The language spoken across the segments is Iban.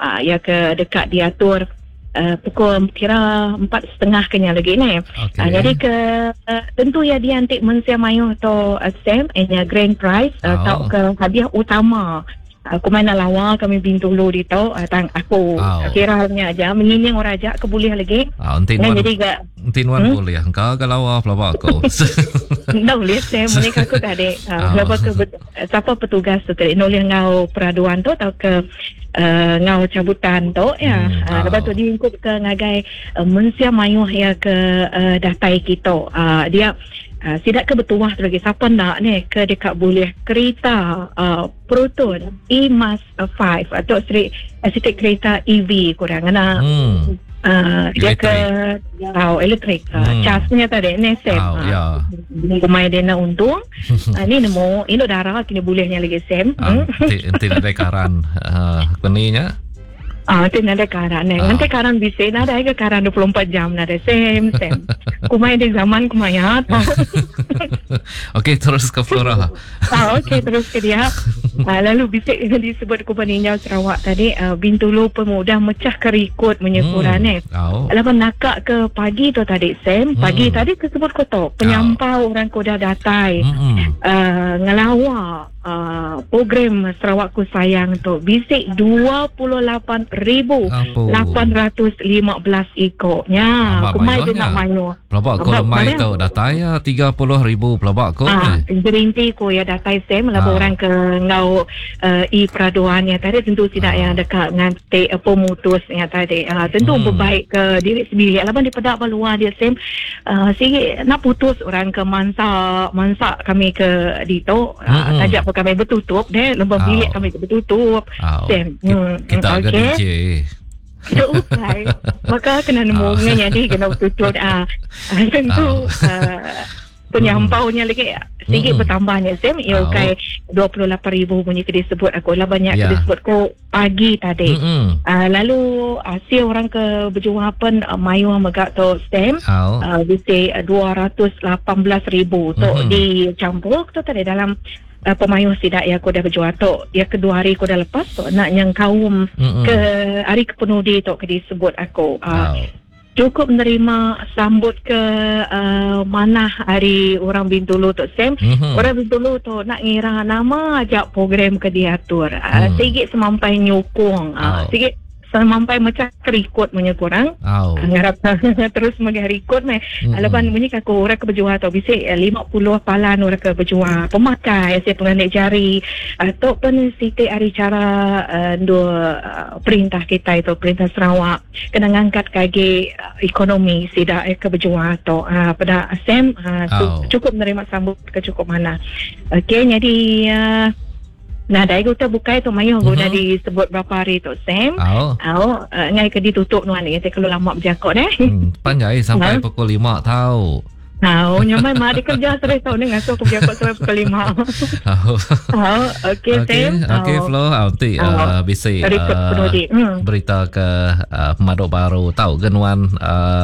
Uh, ya ke dekat diatur uh, pukul kira 4.30 ke nya lagi ni. Okay. Uh, jadi ke uh, tentu ya dia antik mensia mayuh tu uh, Sam nya grand prize uh, Oh. tau ke hadiah utama. Aku main lawa kami Bintulu di tu uh, tang aku Oh. kira nya aja menyinying orang aja ke boleh lagi. Ah, enti Nah, nuan jadi gak enti nuan boleh engkau ke lawa pelaba aku. Ndak boleh saya menikah aku tadi. Oh. Uh, Lepas ke siapa petugas tu tadi nolih ngau peraduan tu atau ke uh, ngau cabutan tu ya. Hmm, Uh, lepas tu oh. diingkup ke ngagai uh, mensia mayuh ya ke uh, datai kita. Uh, dia uh, sidak ke bertuah tu lagi siapa nak ni ke dekat boleh kereta uh, Proton E-Mas 5 atau seri uh, sitik kereta EV kurang kena Uh, dia ke oh, elektrik uh, charge-nya tadi ni Sam. Oh, ya. Kumai dia nak untung. uh, ni nemu induk darah kini bolehnya lagi Sam. Ah, enti enti nadai karan uh, keninya. Ah, tu nada karan eh. Ah. Nanti karan bisa nada ke karan 24 jam nada Sam Sam. Kumai di zaman kumai ya. Okey, terus ke Flora. Ah, okey terus ke dia. Ah, lalu bisik yang disebut Kuban Ninjau Sarawak tadi uh, Bintulu pemudah mecah kerikut menyekuran eh. Oh. Lepas nakak ke pagi tu tadi Sam, pagi tadi kesebut kotor penyampau orang kuda datai. Uh, ngelawa uh, program Sarawakku Sayang tu bisik 28,815 ikoknya. Amat Kumai dia mayuhnya. nak mayu. Pelabak ko Amat lemai mayuh. tu datai ya 30,000 pelabak ko. Ah, eh. gerinti ko ya datai Sam Ah. lah orang ke ngau uh, i peraduan ya tadi tentu tidak yang dekat ngantik uh, pemutus ya tadi. Ah, tentu berbaik ke diri sendiri. Laban di pedak baluar dia Sam uh, sikit nak putus orang ke mansak mansak kami ke dito uh, tajak pun kami bertutup deh lembang Ah. bilik kami bertutup. Ah. Sam. Hmm, Kita hmm, agak okey. DJ. Kita ukai. Maka kena nemu Ah. dengan jadi kena bertutup. Ah, ah, tentu ah, penyampaunya lagi sikit bertambahnya Sam. Ya Ah. ukai 28,000 punya ke disebut aku lah banyak Ya. ke disebut ko pagi tadi. Ah, lalu hasil orang ke berjuang pun uh, mayu megak tu Sam. Oh. Uh, bisa 218,000 tu dicampur tu tadi dalam uh, pemayuh sidak yang aku dah berjual tu. Yang kedua hari aku dah lepas tu nak yang kaum ke hari kepenudi tu ke disebut aku. Uh, Cukup menerima sambut ke uh, mana hari orang Bintulu tu Sam. Orang Bintulu tu nak ngira nama ajak program ke diatur. Uh, Sikit semampai nyukung. Uh, Sikit semampai macam kerikut punya kurang. Oh. Ngarap terus mengharikut meh. Lepas bunyi aku orang ke berjual atau bisik 50 palan orang ke berjual. Pemakai saya penganik jari. Atau pun sitik hari cara uh, dua uh, perintah kita itu perintah Sarawak kena ngangkat kaki uh, ekonomi sidak eh, ke berjual atau uh, pada Sam uh, Oh. cukup menerima sambut ke cukup mana. Okey jadi uh, Nah, dai guna bukai tu mayuh guna disebut berapa hari tu Sam. Oh. Oh, uh, ngai ke ditutup nuan ni, kalau lama berjakot eh. Panjai sampai Ha? pukul 5 tau. Tahu, nyamai mari kerja sore tau ni ngasuh aku berjakot sampai pukul 5. Oh. Oh, okey Okey, Sam. okey Oh. Flo, ah, nanti Oh. bisi Rekod penudi. berita ke pemaduk baru tau ke nuan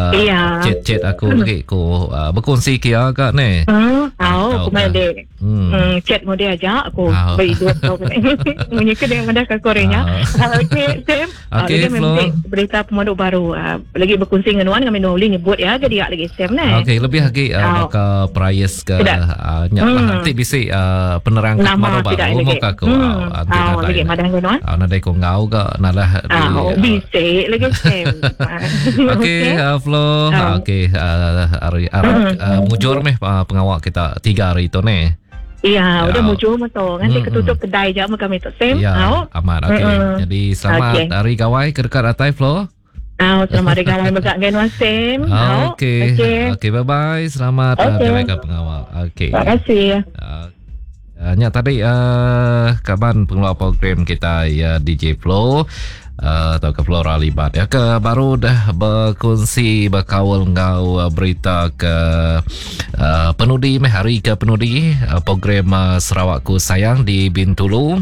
Iya. chat-chat aku lagi ku uh, berkongsi kia kak ni. Tahu, Tahu aku main ke? dek. Chat mu dia aja aku Oh. berhidup tau. Munyi ke dengan madah ke korenya. Okey, Sam. Ah, Okey, lagi Flo. memang berita pemaduk baru. Ah, lagi berkongsi dengan nuan kami nuli nyebut ya ke dia lagi Sam ni. Okey, lebih lagi Oh. ke price ke Tidak. nyak lah. Nanti bisi penerang ke Nama pemaduk tidak baru lagi. mau ke aku. Ah, nanti Oh, nadai. lagi madah ke nuan. Ah, nadai ku ngau ke nalah di Ah, oh, bisik lagi Sam. Okey, Flo. Ah. Okey, hari mujur meh pengawal kita 3 hari tu ni. Iya, Ya. udah mujur mah tu. Nanti ketutup kedai je sama kami tu Sam. Ya, Oh. aman. Okey. Mm-mm. Jadi selamat Okey. hari gawai ke dekat atai Flo. Ah, selamat hari gawai megak dengan Wan Sam. Ah, Okey. Okey. Okey, bye bye. Selamat Okey. okay. uh, pengawal. Okey. Terima kasih. Uh, nya tadi uh, kaban pengelola program kita ya DJ Flo atau ke Flora Libat ya ke baru dah berkongsi berkawal ngau berita ke uh, penudi meh hari ke penudi uh, program uh, Sarawakku Sayang di Bintulu.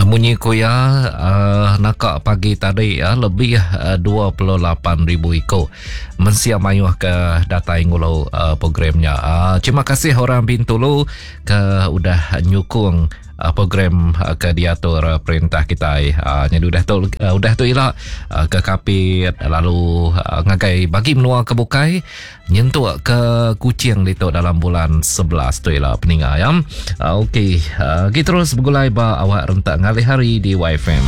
Munyi kuya uh, nakak pagi tadi uh, lebih uh, 28,000 iko mensia mayuh ke datai ngulau uh, programnya. Uh, terima kasih orang Bintulu ke udah nyukung Program ke diatur perintah kitai nyadi udah tu udah tu ila ke Kapit lalu ngagai bagi menua ke bukai nyentuk ke Kuching ditu dalam bulan 11 tu ila peninga ya. Okey, kita terus begulai ba awak rentak ngalih hari di YFM.